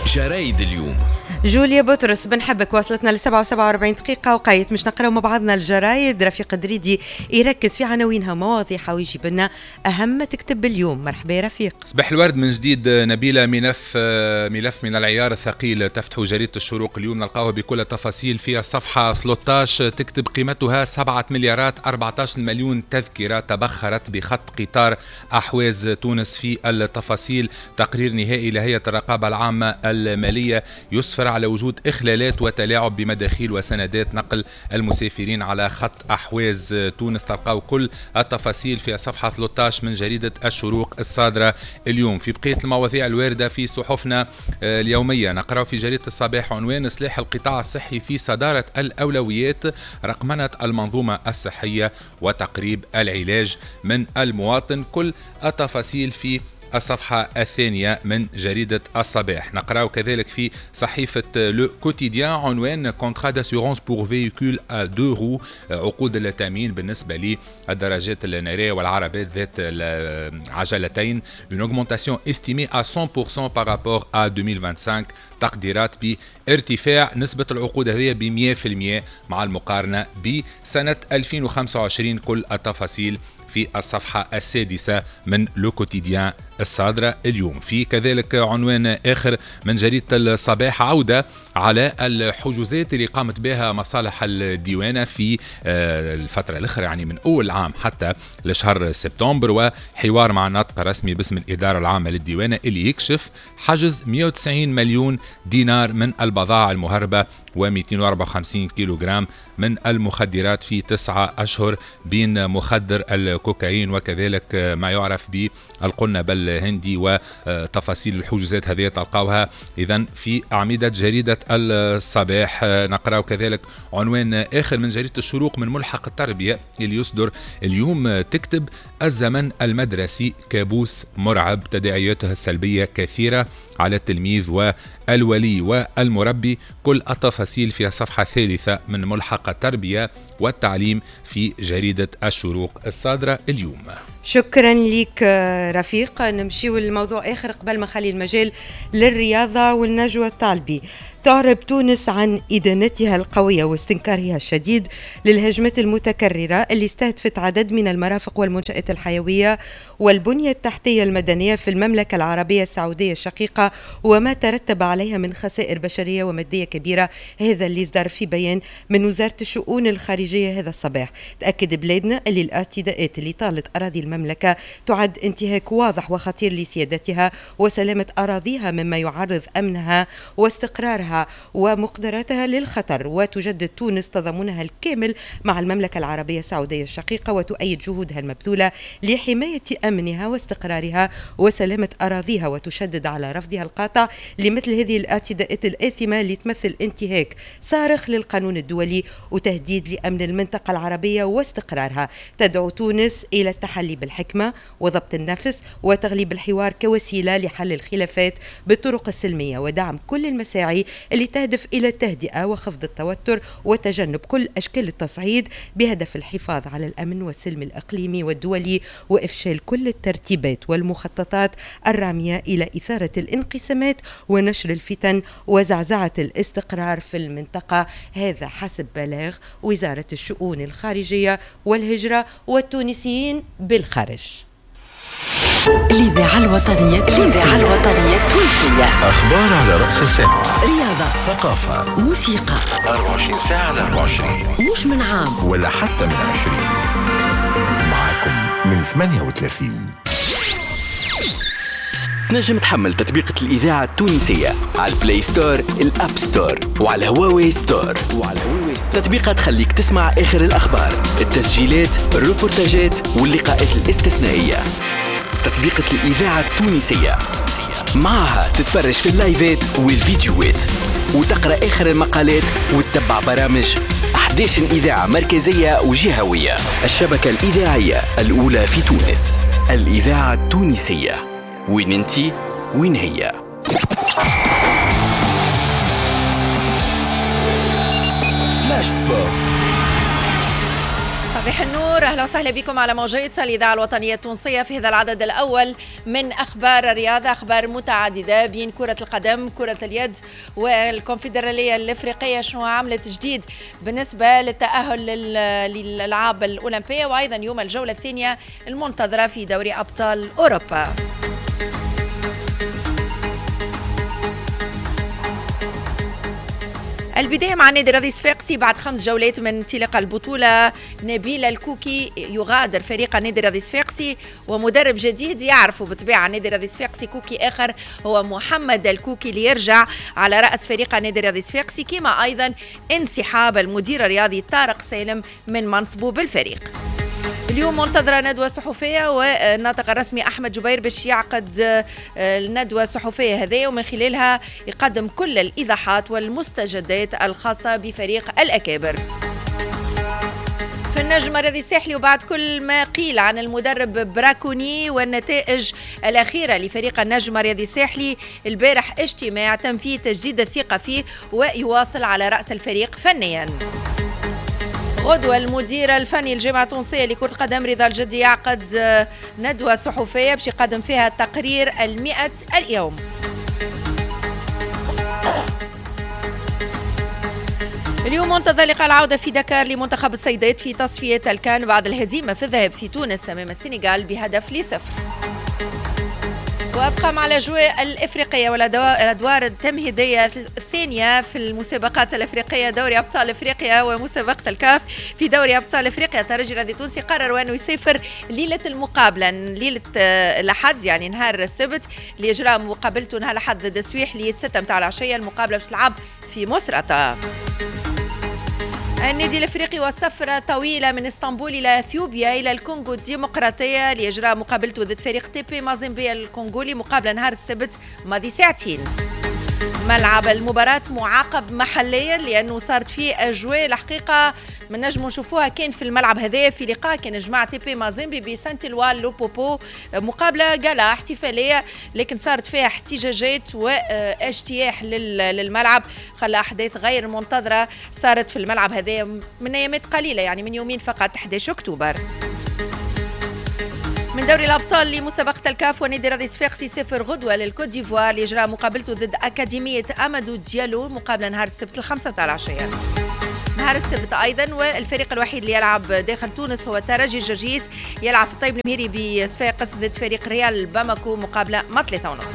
جرايد اليوم. جوليا بطرس بنحبك، وصلتنا ل 7:47 دقيقة وقيت مش نقراو مع بعضنا الجرايد. رفيق دريدي يركز في عناوينها ومواضيعها ويجيب لنا أهم ما تكتب اليوم. مرحبا يا رفيق. صباح الورد من جديد نبيلة. ملف من العيار الثقيل تفتح جريدة الشروق اليوم، نلقاوه بكل التفاصيل في الصفحة 13. تكتب قيمتها 7 مليارات 14 مليون تذكرة تبخرت بخط قطار أحواز تونس. في التفاصيل تقرير نهائي لهيئة الرقابة العامة المالية يسفر على وجود إخلالات وتلاعب بمداخيل وسندات نقل المسافرين على خط أحواز تونس. تلقاو كل التفاصيل في صفحة 13 من جريدة الشروق الصادرة اليوم. في بقية المواضيع الواردة في صحفنا اليومية نقرأ في جريدة الصباح عنوان إصلاح القطاع الصحي في صدارة الأولويات، رقمنة المنظومة الصحية وتقريب العلاج من المواطن. كل التفاصيل في الصفحة الثانية من جريدة الصباح. نقرأ كذلك في صحيفة Le Quotidien عنوان contrats d'assurance pour véhicules à deux roues، عقود التأمين بالنسبة للدراجات النارية والعربات ذات العجلتين، une augmentation estimée à 100% par rapport à 2025، تقديرات بارتفاع نسبة العقود هذه ب 100% مع المقارنة بسنة 2025. كل التفاصيل في الصفحة السادسة من Le Quotidien الصادرة اليوم. في كذلك عنوان آخر من جريدة الصباح، عودة على الحجوزات اللي قامت بها مصالح الديوانة في الفترة الأخرى، يعني من أول عام حتى لشهر سبتمبر، وحوار مع الناطق الرسمي باسم الإدارة العامة للديوانة اللي يكشف حجز 190 مليون دينار من البضائع المهربة و254 كيلوغرام من المخدرات في 9 أشهر، بين مخدر الكوكايين وكذلك ما يعرف بالقنب الهندي. وتفاصيل الحجوزات هذه تلقاوها إذن في أعمدة جريدة الصباح. نقرأ كذلك عنوان آخر من جريدة الشروق من ملحق التربية اللي يصدر اليوم، تكتب الزمن المدرسي كابوس مرعب، تداعياته السلبية كثيرة على التلميذ والولي والمربي. كل التفاصيل في الصفحة الثالثة من ملحق التربية والتعليم في جريدة الشروق الصادرة اليوم. شكرا لك رفيق. نمشيو لموضوع آخر قبل ما نخلي المجال للرياضة والنجوى الطالبي. تعرب تونس عن إدانتها القوية واستنكارها الشديد للهجمات المتكررة اللي استهدفت عدد من المرافق والمنشآت الحيوية والبنية التحتية المدنية في المملكة العربية السعودية الشقيقة وما ترتب عليها من خسائر بشرية ومادية كبيرة. هذا اللي صدر في بيان من وزارة الشؤون الخارجية هذا الصباح. تأكد بلادنا اللي الاعتداءات اللي طالت أراضي المملكة تعد انتهاك واضح وخطير لسيادتها وسلامة أراضيها، مما يعرض أمنها واستقرارها ومقدراتها للخطر. وتجدد تونس تضامنها الكامل مع المملكة العربية السعودية الشقيقة وتؤيد جهودها المبذولة لحماية أمنها واستقرارها وسلامة أراضيها، وتشدد على رفضها القاطع لمثل هذه الاعتداءات الآثمة اللي تمثل انتهاك صارخ للقانون الدولي وتهديد لأمن المنطقة العربية واستقرارها. تدعو تونس إلى التحلي بالحكمة وضبط النفس وتغليب الحوار كوسيلة لحل الخلافات بالطرق السلمية ودعم كل المساعي اللي تهدف إلى التهدئة وخفض التوتر وتجنب كل أشكال التصعيد بهدف الحفاظ على الأمن والسلم الإقليمي والدولي وإفشال كل الترتيبات والمخططات الرامية إلى إثارة الانقسامات ونشر الفتن وزعزعة الاستقرار في المنطقة. هذا حسب بلاغ وزارة الشؤون الخارجية والهجرة والتونسيين بالخارج. الإذاعة الوطنية التونسية. أخبار على رأس الساعة، رياضة، ثقافة، موسيقى، 24 ساعة على 24، مش من عام ولا حتى من 20. معكم من 38. تنجم تحمل تطبيقة الإذاعة التونسية على ال Play Store، ال App Store وعلى Huawei Store. تطبيقة تخليك تسمع آخر الأخبار، التسجيلات، الروبورتاجات واللقاءات الاستثنائية. تطبيقة الإذاعة التونسية معها تتفرج في اللايفات والفيديوهات وتقرأ آخر المقالات وتتبع برامج 11 إذاعة مركزية وجهوية. الشبكة الإذاعية الأولى في تونس، الإذاعة التونسية. وين انتي وين هي. Flash Sport. صباح النور، اهلا وسهلا بكم على موجات الاذاعة الوطنية التونسية في هذا العدد الاول من اخبار الرياضة، اخبار متعددة بين كره القدم، كره اليد والكونفدراليه الافريقية شنو عملت جديد بالنسبة للتاهل للالعاب الاولمبية، وايضا يوم الجولة الثانية المنتظره في دوري ابطال اوروبا. البداية مع النادي الرياضي الصفاقسي بعد 5 جولات من انطلاق البطولة. نبيل الكوكي يغادر فريق النادي الرياضي الصفاقسي ومدرب جديد يعرفه بالطبيعة النادي الرياضي الصفاقسي كوكي آخر هو محمد الكوكي اللي يرجع على رأس فريق النادي الرياضي الصفاقسي، كما أيضا انسحاب المدير الرياضي طارق سالم من منصبه بالفريق. اليوم منتظرة ندوة صحفية والناطق الرسمي أحمد جبير باش يعقد الندوة الصحفية هذه ومن خلالها يقدم كل الإيضاحات والمستجدات الخاصة بفريق الأكابر. في النجم الرياضي الساحلي وبعد كل ما قيل عن المدرب براكوني والنتائج الأخيرة لفريق النجم الرياضي الساحلي، البارح اجتماع تم فيه تجديد الثقة فيه ويواصل على رأس الفريق فنيا. غدوة المدير الفني الجامعة التونسية لكرة القدم رضا الجدي يعقد ندوة صحفية باش يقدم فيها تقرير 100 اليوم. اليوم منتظر لقاء العودة في دكار لمنتخب السيدات في تصفية الكان بعد الهزيمة في الذهاب في تونس أمام السنغال ب1-0. وابقى مع الاجواء الافريقية والادوار التمهيدية الثانية في المسابقات الافريقية، دوري ابطال افريقيا ومسابقه الكاف. في دوري ابطال افريقيا الترجي الرياضي التونسي قرروا انه يسافر ليلة المقابلة، ليلة الاحد يعني نهار السبت، لاجراء مقابلته نهار الاحد ضد السويح للسته متاع العشية. المقابلة باش تلعب في مصراتة. النادي الافريقي وسفره طويلة من اسطنبول الى اثيوبيا الى الكونغو الديمقراطية لاجراء مقابلته ضد فريق تيبي مازيمبي الكونغولي، مقابله نهار السبت ماضي ساعتين. ملعب المباراة معاقب محليا لأنه صارت فيه أجواء الحقيقة ما نجموا نشوفوها كان في الملعب هذا في لقاء كان جماعة تيبي مازيمبي بسانتلوال لوبوبو، مقابلة جالا احتفالية لكن صارت فيها احتجاجات واجتياح للملعب، خلى أحداث غير منتظرة صارت في الملعب هذا من أيامات قليلة يعني من يومين فقط 11 أكتوبر. من دوري الأبطال لمسابقة الكاف ونادي الرياضي الصفاقسي يسافر غدوة للكوت ديفوار لإجراء مقابلته ضد أكاديمية أمادو ديالو، مقابلة نهار السبت 5 تاع العشية. نهار السبت أيضا والفريق الوحيد اللي يلعب داخل تونس هو الترجي الجرجيس، يلعب في الطيب المهيري بصفاقس ضد فريق ريال باماكو، مقابلة مع 3:30.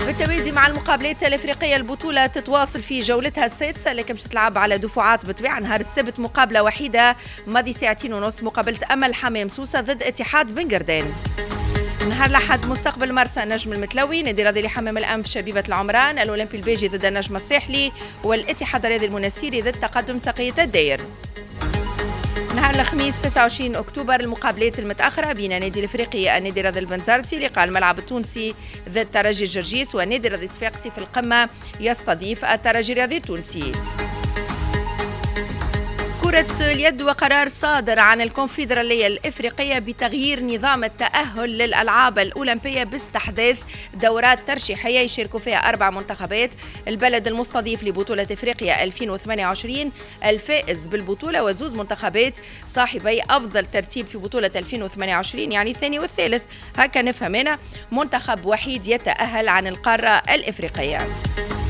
بالتوازي مع المقابلات الافريقية البطولة تتواصل في جولتها السادسة لكن باش تلعب على دفعات بالطبيعة. نهار السبت مقابله وحيده ماضي 2:30 مقابله امل حمام سوسة ضد اتحاد بنقردان. نهار الاحد مستقبل مرسى نجم المتلوي، نادي الرياضي لحمام الانف شبيبة العمران، الاولمبي الباجي ضد النجم الساحلي، والاتحاد الرياضي المنسيري ضد تقدم سقيه الداير. نهار الخميس 29 اكتوبر المقابلات المتاخرة بين النادي الافريقي النادي الرياضي البنزرتي، لقاء الملعب التونسي ضد ترجي الجرجيس، والنادي الرياضي الصفاقسي في القمه يستضيف الترجي الرياضي التونسي. كرة اليد وقرار صادر عن الكونفدرالية الإفريقية بتغيير نظام التأهل للألعاب الأولمبية باستحداث دورات ترشيحية يشاركوا فيها 4 منتخبات، البلد المستضيف لبطولة إفريقيا 2028، الفائز بالبطولة، وزوز منتخبات صاحبي أفضل ترتيب في بطولة 2028 يعني الثاني والثالث، هكا نفهم أنا، منتخب وحيد يتأهل عن القارة الإفريقية.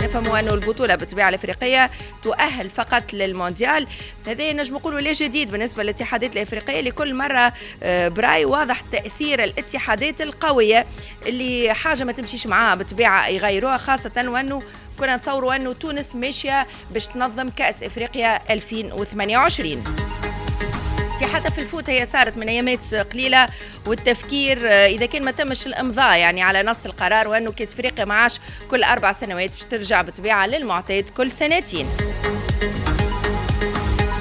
نفهموا أنه البطولة بالطبيعة الأفريقية تؤهل فقط للمونديال، هذا نجم نقولوا لا جديد بالنسبة للاتحادات الأفريقية، لكل مرة براي واضح تأثير الاتحادات القوية اللي حاجة ما تمشيش معاها بالطبيعة يغيروها، خاصة وأنه كنا نتصوروا أنه تونس ماشية باش تنظم كأس إفريقيا 2028. حتى في الفوت هي صارت من ايامات قليله، والتفكير اذا كان ما تمش الامضاء يعني على نص القرار وانه كاس افريقيا ما عادش كل 4 سنوات باش ترجع بالطبيعة للمعتاد كل سنتين.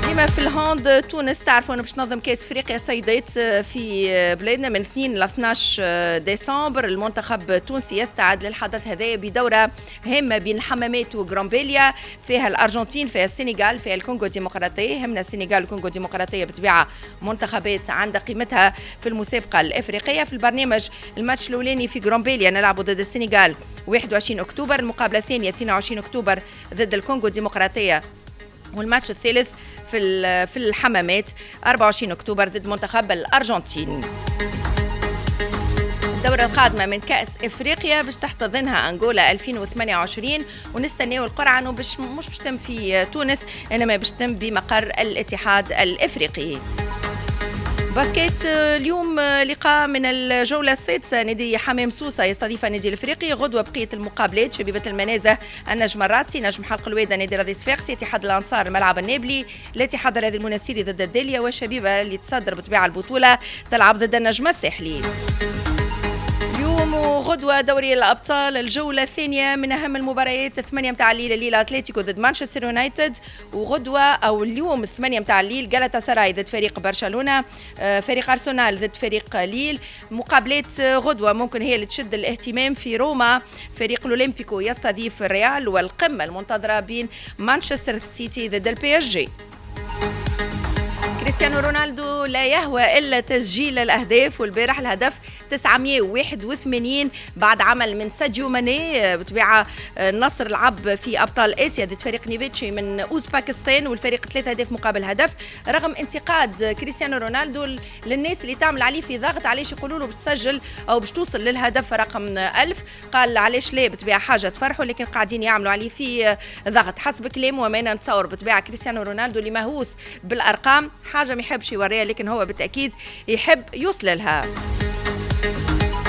ديما في ال hand تونس تعرفوا انه باش تنظم كاس افريقيا سيدات في بلادنا من 2 ل 12 ديسمبر. المنتخب التونسي يستعد للحدث هذا بدوره هامة بين الحمامات وغرامبيليا، فيها الارجنتين، فيها السنغال، فيها الكونغو الديمقراطية. همنا السنغال والكونغو الديمقراطية بالطبيعة منتخبات عندها قيمتها في المسابقة الافريقية. في البرنامج الماتش الاولاني في غرامبيليا نلعبوا ضد السنغال 21 اكتوبر، المقابلة الثانية 22 اكتوبر ضد الكونغو الديمقراطية، والماتش الثالث في الحمامات 24 أكتوبر ضد منتخب الأرجنتين. الدورة القادمة من كأس إفريقيا باش تحتضنها أنغولا 2028، ونستناو القرعة أنه باش مش باش تتم في تونس، إنما باش تتم بمقر الاتحاد الإفريقي. basket اليوم لقاء من الجولة السادسة، نادي حمام سوسة يستضيف النادي الافريقي. غدوة بقية المقابلات: شبيبة المنازه، النجم الراسي، نجم حلق الوادة، نادي رادي صفاقسي، اتحاد الأنصار، الملعب النابلي، الاتحاد الرياضي المنستيري ضد الدالية، والشبيبة اللي تصدر بطبيعة البطولة تلعب ضد النجم الساحلي. اليوم وغدوة دوري الأبطال الجولة الثانية من أهم المباريات، 8 متاع الليل الليلة أتلتيكو ضد مانشستر يونايتد، وغدوة أو اليوم 8 متاع الليل جالاتا سراي ضد فريق برشلونة، فريق أرسنال ضد فريق ليل. مقابلات غدوة ممكن هي اللي تشد الاهتمام. في روما فريق الأولمبيكو يستضيف الريال، والقمة المنتظرة بين مانشستر سيتي ضد ال PSG. كريستيانو رونالدو لا يهوى إلا تسجيل الأهداف، والبارح الهدف 981 بعد عمل من ساديو ماني. بطبيعة النصر لعب في أبطال آسيا ضد فريق نيفيتشي من أوزباكستان، والفريق 3 أهداف مقابل هدف، رغم انتقاد كريستيانو رونالدو للناس اللي تعمل عليه في ضغط، علاش يقولوا له بتسجل أو باش توصل للهدف رقم 1000، قال علاش لا، بطبيعة حاجة تفرحوا، لكن قاعدين يعملوا عليه في ضغط حسب كلامه. وما نتصور بطبيعة كريستيانو رونالدو اللي مهووس بالأرقام حاجة ما يحبش يوريها، لكن هو بالتأكيد يحب يوصل لها.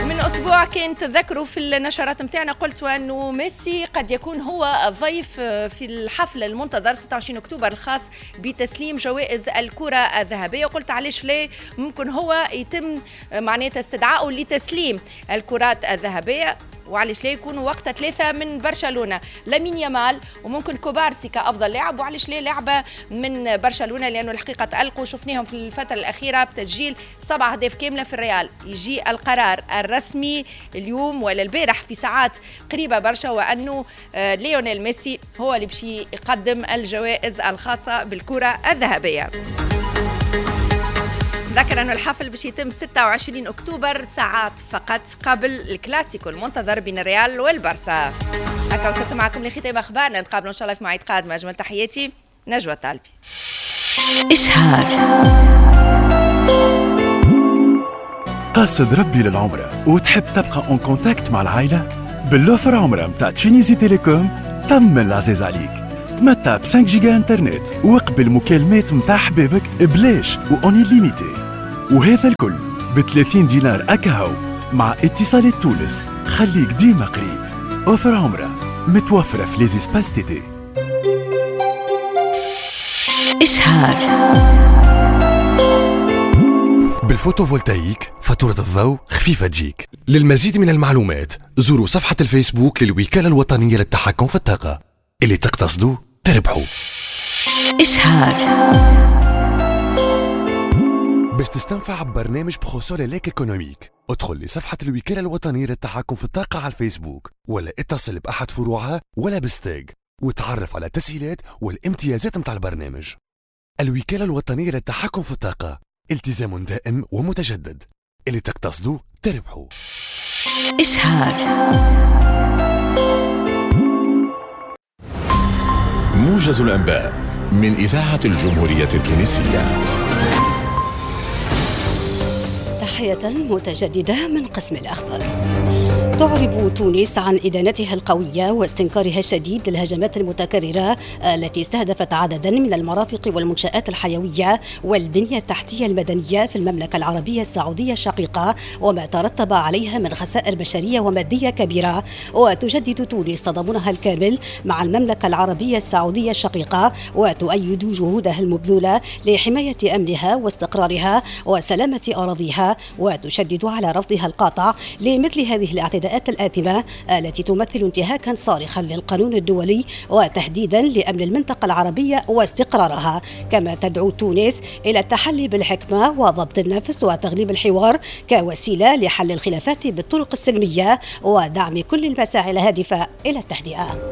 من أسبوع كان تذكروا في النشرات متاعنا قلت أنه ميسي قد يكون هو الضيف في الحفل المنتظر 26 أكتوبر الخاص بتسليم جوائز الكرة الذهبية، وقلت علاش لا، ممكن هو يتم معناتها استدعائه لتسليم الكرات الذهبية، وعلاش لا يكونوا وقتها 3 من برشلونة، لامين يامال وممكن كوبارسي كأفضل لاعب، وعلاش لا لعبة من برشلونة، لأنه الحقيقة تألقوا شفناهم في الفترة الأخيرة بتسجيل 7 أهداف كاملة في الريال. يجي القرار الرسمي اليوم ولا البارح في ساعات قريبة برشا، وأنه ليونيل ميسي هو اللي باش يقدم الجوائز الخاصة بالكرة الذهبية. ذكر أن الحفل باش يتم 26 أكتوبر، ساعات فقط قبل الكلاسيكو المنتظر بين الريال والبرسا. هكا وصلت معكم لختام أخبارنا، نتقابلوا إن شاء الله في مواعيد قادمة. أجمل تحياتي، نجوى الطالبي. إشهار. قاصد ربي للعمرة وتحب تبقى en contact مع العائلة؟ بال offre عمرة متاع Tunisie Telecom تم العزيز عليك. تمتع ب 5 جيجا انترنت وقبل مكالمات متاع حبابك بلاش و en illimité، وهذا الكل ب 30 دينار أكهو مع اتصالات تونس. خليك ديما قريب. offre عمرة متوفرة في les espaces TT. إشهار. بال photovoltaïque فاتورة الضوء خفيفة تجيك. للمزيد من المعلومات زوروا صفحة الفيسبوك للوكالة الوطنية للتحكم في الطاقة. اللي تقتصدوا تربحوا. إشهار. باش تستنفع ببرنامج ProSolelec économique، ادخل لصفحة الوكالة الوطنية للتحكم في الطاقة على الفيسبوك، ولا اتصل بأحد فروعها ولا بال STEG، وتعرف على التسهيلات والامتيازات متاع البرنامج. الوكالة الوطنية للتحكم في الطاقة، التزام دائم ومتجدد. اللي تقتصدوا تربحوا. إشهار. موجز الأنباء من إذاعة الجمهورية التونسية. تحية متجددة من قسم الأخبار. تعرب تونس عن إدانتها القوية واستنكارها الشديد للهجمات المتكررة التي استهدفت عددا من المرافق والمنشآت الحيوية والبنية التحتية المدنية في المملكة العربية السعودية الشقيقة، وما ترتب عليها من خسائر بشرية ومادية كبيرة. وتجدد تونس تضامنها الكامل مع المملكة العربية السعودية الشقيقة، وتؤيد جهودها المبذولة لحماية أمنها واستقرارها وسلامة أراضيها، وتشدد على رفضها القاطع لمثل هذه الاعتداءات الآثمة التي تمثل انتهاكا صارخا للقانون الدولي وتهديدا لأمن المنطقة العربية واستقرارها. كما تدعو تونس إلى التحلي بالحكمة وضبط النفس وتغليب الحوار كوسيلة لحل الخلافات بالطرق السلمية ودعم كل المساعي الهادفة إلى التهدئة.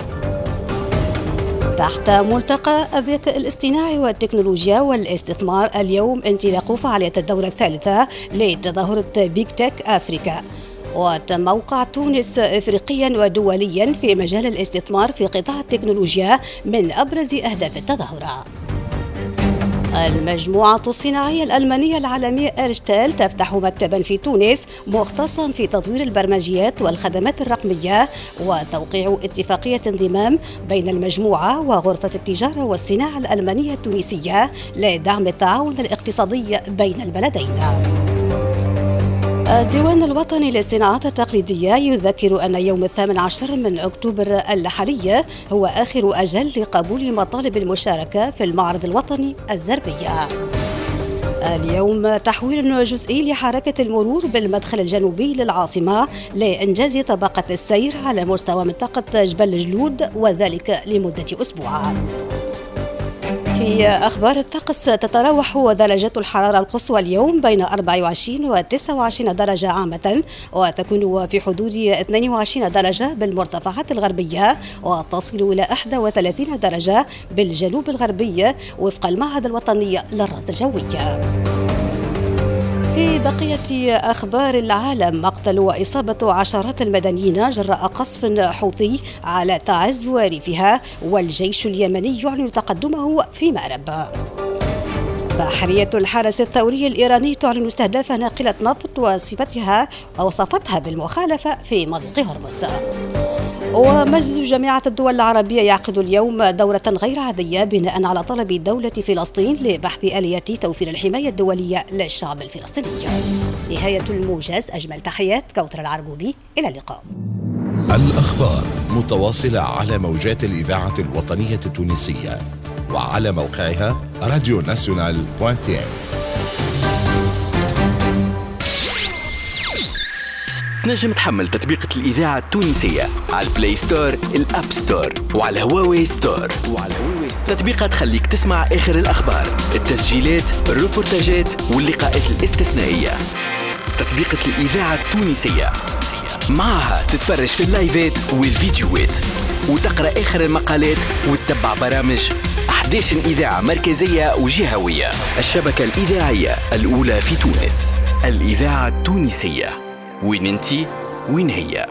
تحت ملتقى الذكاء الاصطناعي والتكنولوجيا والاستثمار اليوم انطلاق فعالية الدورة الثالثة لتظاهرة Big Tech Africa. وتموقع تونس إفريقيا ودوليا في مجال الاستثمار في قطاع التكنولوجيا من أبرز أهداف التظاهرة. المجموعة الصناعية الألمانية العالمية إرشتال تفتح مكتبا في تونس مختصا في تطوير البرمجيات والخدمات الرقمية، وتوقيع اتفاقية انضمام بين المجموعة وغرفة التجارة والصناعة الألمانية التونسية لدعم التعاون الاقتصادي بين البلدين. الديوان الوطني للصناعات التقليدية يذكر أن يوم 18 من أكتوبر الحالي هو آخر أجل لقبول مطالب المشاركة في المعرض الوطني الزربية. اليوم تحويل جزئي لحركة المرور بالمدخل الجنوبي للعاصمة لإنجاز طبقة السير على مستوى منطقة جبل جلود، وذلك لمدة أسبوع. في أخبار الطقس، تتراوح درجات الحرارة القصوى اليوم بين 24 و 29 درجة عامة، وتكون في حدود 22 درجة بالمرتفعات الغربية، وتصل إلى 31 درجة بالجنوب الغربي وفق المعهد الوطني للرصد الجوي. في بقية أخبار العالم، مقتل وإصابة عشرات المدنيين جراء قصف حوثي على تعز وريفها، والجيش اليمني يعلن تقدمه في مأرب. بحرية الحرس الثوري الإيراني تعلن استهداف ناقلة نفط وصفتها بالمخالفة في مضيق هرمز. ومجلس جامعة الدول العربية يعقد اليوم دورة غير عادية بناء على طلب دولة فلسطين لبحث آلية توفير الحماية الدولية للشعب الفلسطيني. نهاية الموجز، أجمل تحيات كوثر العرقوبي، إلى اللقاء. الأخبار متواصلة على موجات الإذاعة الوطنية التونسية وعلى موقعها راديو ناسيونال .tn. تنجم تحمل تطبيقة الإذاعة التونسية على ال Play Store، ال App Store، وعلى هواوي Store. تطبيقة تخليك تسمع آخر الأخبار، التسجيلات، الروبورتاجات واللقاءات الاستثنائية. تطبيقة الإذاعة التونسية معها تتفرج في اللايفات والفيديوهات وتقرأ آخر المقالات وتتبع برامج 11 إذاعة مركزية وجهوية. الشبكة الإذاعية الأولى في تونس، الإذاعة التونسية. وين انتي وين هي.